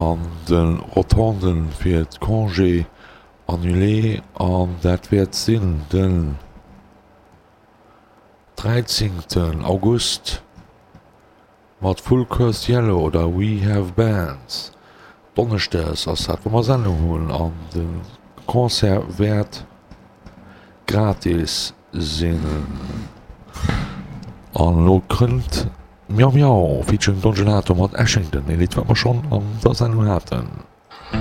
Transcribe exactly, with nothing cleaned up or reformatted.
An de Rotonden fir d'Congé annulé an dat wäert sinn den dräizéngten August mat Full Curse Yellow oder We Have Bands. Donneschdes ass dat, wou mer Sendung hunn an de Concert wäert gratis sinn. An elo kënnt Miau Miau featuring Don Gelato mat Ashington, ee Lidd wat mer schonn an der Sendung haten.